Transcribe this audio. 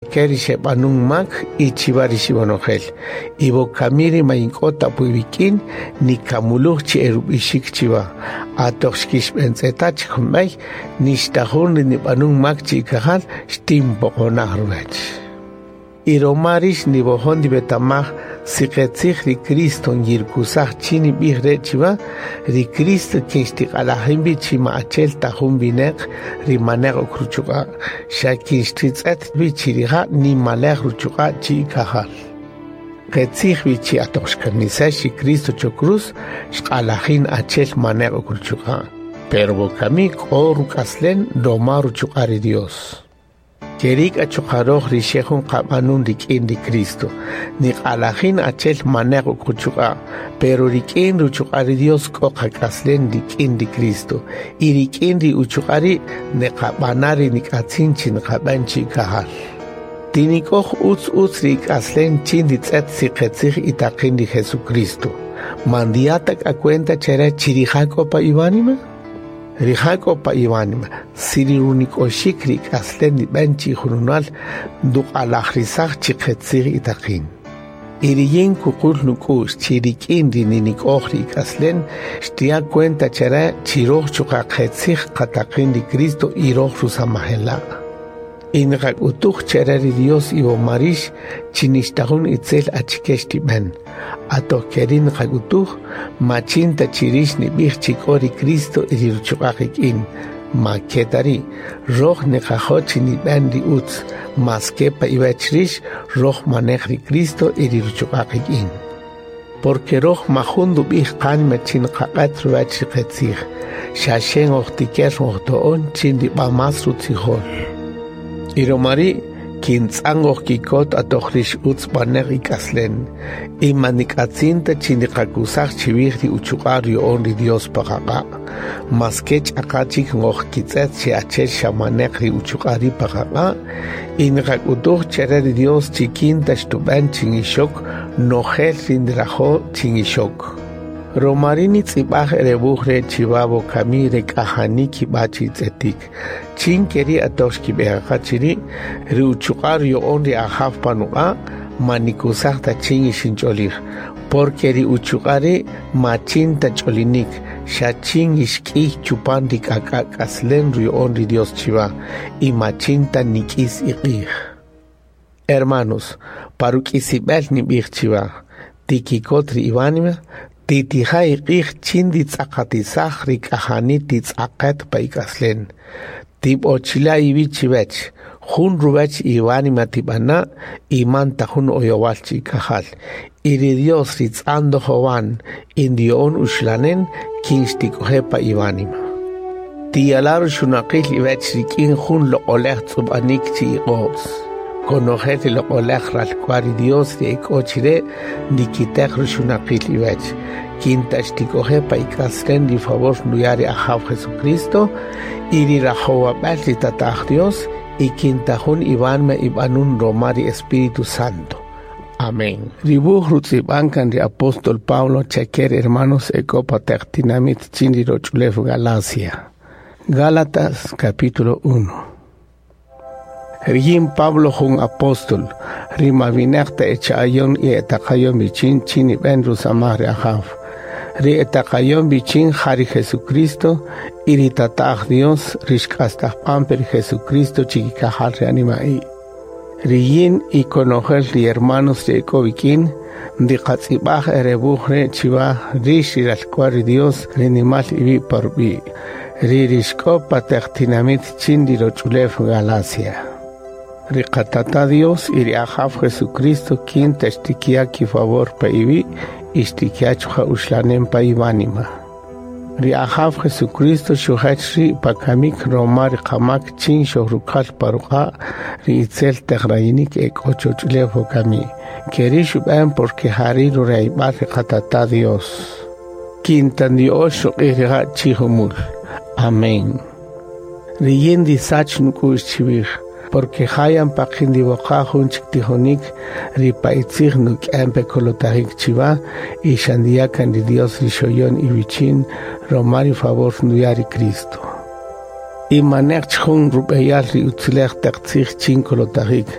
Chake ri xeb'anun mak y chiwa ri xib'onojel. Y wokamiri ma yink'o ta puiwikin nikamuluj chi erub'ixik chiwa. Atoq xkixb'entz'eta chik jun b'ey, nixta jun ri nib'anun mak chi ikajal xtinpoqonaj ruwech. Y roma rix niwojon ndiwetamaj si qetzij ri Cristo nyirkusaj chin nib'ij re' chiwa, ri Cristo kin xtiq'alajin wi chi ma achel ta jun wineq ri maneq ok ruchuq'a', xa kin xtitz'et wi chi rija' nimalej ruchuq'a' chi ikajal. Qetzij wi chi atoq xkamisex ri Cristo cho cruz, xq'alajin achel maneq ok ruchuq'a'. Pero wokami k'o ruk'aslen roma ruchuq'a' ri Dios. Kerik achuqaroj ri xe jun qab'anun rik'in ri Cristo. Niq'alajin achel maneq ok ruchuq'a', pero rik'in ruchuq'a' ri Dios k'o qak'aslen rik'in ri Cristo. Y rik'in ri uchuq'a' ri' neqab'ana ri nik'atzin chi niqab'an chi ikajal. Tinik'oj utz utz ri ik'aslen chin ritz'et si qetzij itaqin ri Jesucristo. Man ndiya ta k'a cuenta chere chi rija' k'o pa iwánima? Rija' k'o pa iwánima, si ri runik'oxik ri ik'aslen nib'an chi ijununal nduq'alajrisaj chi qetzij itaqin. Y riyin kuqul nuk'u'x chi rik'in ri ninik'oj ri ik'aslen xtiya' cuenta chere chi roj chuqa' qetzij qataqin ri Cristo y roj rusamajela'. Y niqak'utuj chere ri Dios iwoma rix chi nixta jun itzel achike xtib'an. Atoq keri' niqak'utuj, ma chin ta chi rix nib'ij chi k'o ri Cristo y ri ruchuq'a' qik'in. Ma ke ta ri', roj niqajo' chi nib'an ri utz, maske pa iwech rix, roj manej ri Cristo y ri ruchuq'a' qik'in. Porque roj majun ndub'ij qánima chi niqaq'et ruwech ri qetzij, xa xe ngojtiker ngojto'on chin rib'a más rutzijol. Y roma ri' kintz'an ngojkikot atoq rix utz b'aneq ik'aslen, y ma nik'atzin ta chi niqakusaj chiwij ri uchuq'a' ruya'on ri Dios pa qaq'a'. Maske ch'aqa chik ngojkitz'et chi achel xa maneq ri uchuq'a' ri' pa qaq'a', y niqak'utuj chere ri Dios chi kin ta xtub'an chin ixok nojel ri nrajo' chin ixok. Roma ri' nitz'ib'aj re wuj re' chiwa wokami re k'ajani kib'a chi tz'etik. Chin keri' atoq xkib'eqaqa chiri', ri uchuq'a' ruya'on ri Ajaw pa nuq'a', ma nikusaj ta chin ixinch'olij, porque ri uchuq'a' ri' ma chin ta ch'olinik, xa chin ixk'iy chupan ri k'ak'a' k'aslen ruya'on ri Dios chiwa, y ma chin ta nik'is iq'ij. Hermanos, paruk'isib'el nib'ij chiwa, tikikot ri iwánima, titija' iq'ij chin nditz'aqatisaj ri k'ajani titz'aqet pa ik'aslen. Tib'ochila' iwi' chiwech, jun ruwech iwánima tib'ana' y man ta jun oyowal chi ikajal. Y ri Dios ri tz'an ndojowan y ndiyo'on uxlanen kin xtik'oje' pa iwánima. Tiyala' ruxunaqil iwech rik'in jun loq'olej tz'ub'anik chi iq'o's. Konojel ri loq'olej ralk'wa'l ri Dios ri ek'o chire' ndikitej ruxunaqil iwech. Kin ta xtik'oje' pa ik'aslen ri favor nduya' ri Ajaw Jesucristo y ri rajowab'el ri Tata'aj Dios, y kin ta jun iwánima ib'anun roma ri Espíritu Santo. Amén. Ri wuj rutz'ib'an kan ri apóstol Pablo chake ri hermanos ek'o pa taq tinamit chin ri roch'ulew Galacia. Gálatas capítulo 1. Riyin Pablo jun apóstol, ri ma wineq ta echa'ayon y etaqayon wichin chin nib'en rusamaj ri Ajaw. Ri etaqayon wichin ja ri Jesucristo y ri Tata'aj Dios ri xk'astajpampe ri Jesucristo chikikajal ri anima'i. Riyin y konojel ri hermanos ri ek'o wik'in, ndiqatz'ib'aj re wuj re' chiwa rix ri ralk'wa'l ri Dios ri nimal iwi' pa rub'i', ri rixk'o pa taq tinamit chin ri roch'ulew Galacia. Ri qatata Dios y ri Ajaw Jesucristo kin ta xtikiya' kifavor pa iwi' y xtikiya' chuqa' uxlanem pa iwánima. Ri Ajaw Jesucristo xujach ri' pa kamik roma ri qamak chin xojrukal pa ruq'a' ri itzel taq rayinik ek'o choch'ulew wokami. Keri' xub'an porque jari' rurayb'al ri qatata Dios. Kin ta ndiyo'ox ruq'ij rija' chi jumul. Amén. Riyin ndisach nuk'u'x chiwij, porque jayan paqin ndiwoqa' jun chik tijonik ri pa itzij nuk'en pe kolotajik chiwa y xa ndiya' kan ri Dios ri xoyon iwichin roma ri favor nduya' ri Cristo. Y maneq chik jun rub'eyal ri utzulej teq tzij chin kolotajik.